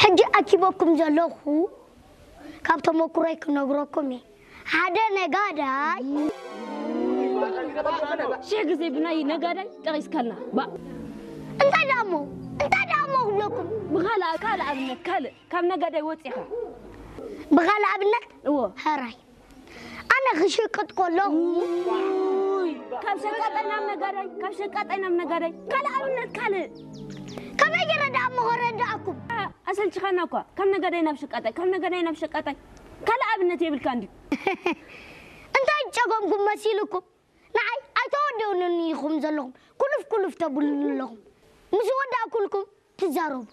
ሕጂ ኣኪበኩም ዘለኹ ካብ ተመኩሮይ ክነግረኩም እየ። ሓደ ነጋዳይ ሽሕ ግዜ ብናይ ነጋዳይ ጠቒስካልና። ባ እንታይ ደኣ እሞ እንታይ ደኣ እሞ ክብለኩም ብኻልእ ካልእ ኣብነት ካልእ ካብ ነጋዳይ ወፂኻ ብኻልእ ኣብነት እዎ ሕራይ ኣነ ክሽቅጥ ከለኹ ካብ ሸቃጣይ ናብ ነጋዳይ ካብ ሸቃጣይ ናብ ነጋዳይ ካልእ ኣብነት ካልእ ከመይ ገይረ ደኣ እሞ ከረድኣኩም ኣሰልችኻና እኳ ካብ ነጋዳይ ናብ ሸቃጣይ ካብ ነጋዳይ ናብ ሸቃጣይ ካልእ ኣብነት የብልካ እንዲ እንታይ ጨጎምኩም መሲልኩም ንዓይ ኣይተወደውንን ኢኹም ዘለኹም ኩልፍ ኩልፍ ተብሉኒ ኣለኹም ምስ ወዳእኩልኩም ትዛረቡ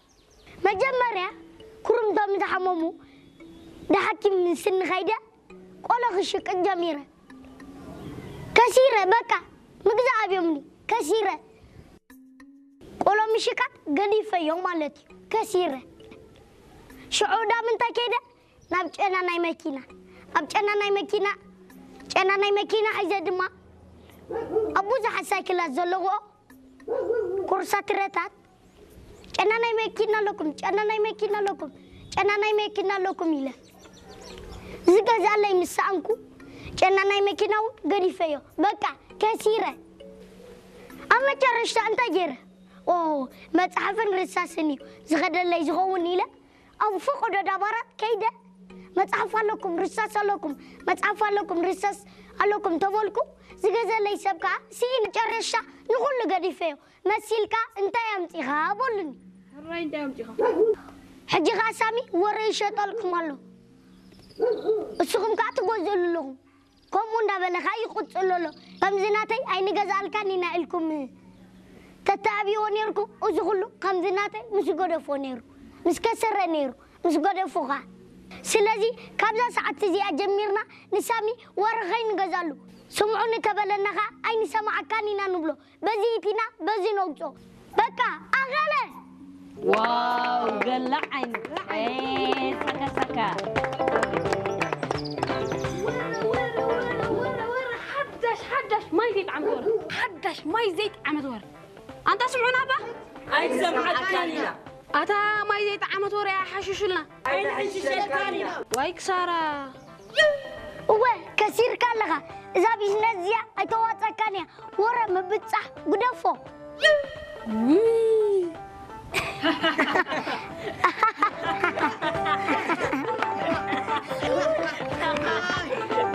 መጀመርያ ኩሩምቶም ዝሓመሙ ንሓኪም ምስ ንኸይደ ቆሎ ክሽቅጥ ጀሚረ ከሲረ በቃ ምግዛእ ኣብዮምኒ ከሲረ ቆሎ ምሽቃጥ ገዲፈዮ ማለት እዩ ከሲረ ሽዑ ዳም እንታይ ከይደ ናብ ጨና ናይ መኪና ኣብ ጨና ናይ መኪና ጨና ናይ መኪና ሒዘ ድማ ኣብ ብዙሓት ሳይክላት ዘለውኦ ኮርሳ ትረታት ጨና ናይ መኪና ኣለኩም ጨና ናይ መኪና ኣለኩም ጨና ናይ መኪና ኣለኩም ኢለ ዝገዛለይ ምስ ሰኣንኩ ጨና ናይ መኪና እውን ገዲፈዮ በቃ ከሲረ ኣብ መጨረሽታ እንታይ ገይረ ኦ መፅሓፍን ርሳስን እዩ ዝኸደለይ ዝኸውን ኢለ ኣብ ፈቐዶ ዳባራት ከይደ መፅሓፍ ኣለኩም ርሳስ ኣለኩም መፅሓፍ ኣለኩም ርሳስ ኣለኩም ተበልኩ ዝገዘለይ ሰብ ከዓ ስኢነ ጨረሻ ንኹሉ ገዲፈዮ መሲልካ እንታይ ኣምፂኻ በሉኒ ሕራይ እንታይ ኣምፂኻ ሕጂ ከዓ ሳሚ ወረ ይሸጠልኩም ኣሎ እስኹም ከዓ ትገዘሉ ኣለኹም ከምኡ እንዳበለ ከዓ ይቕፅሎ ኣሎ ከምዚ ናተይ ኣይንገዝኣልካን ኢና ኢልኩም ተተኣብይዎ ነይርኩም እዚ ኩሉ ከምዚ ናተይ ምስ ገደፎ ነይሩ ምስ ከሰረ ነይሩ ምስ ገደፎ ከዓ ስለዚ ካብዛ ሰዓት እዚኣ ጀሚርና ንሳሚ ወረ ከይንገዛሉ ስምዑኒ ተበለና ከዓ ኣይንሰማዓካን ኢና ንብሎ በዚ ኢቲና በዚ ነውፅኦ በቃ ኣኸለ ዋው ገላ ዓይነት ሰከሰካ ሓዳሽ ሓዳሽ ማይ ዘይጣዕመት ወረ ሓዳሽ ማይ ዘይጣዕመት ወረ ኣንታ ስምዑና ባ ኣይሰማዓካን ኢና ኣታ ማይ ዘይጣዕመት ወረ ሓሽሹልና ኣይንሕሽሸልካን ኢና ዋይ ክሳራ እወ ከሲርካ ኣለኻ እዛ ቢዝነስ እዚኣ ኣይተዋፀካን እያ ወረ ምብፃሕ ግደፎ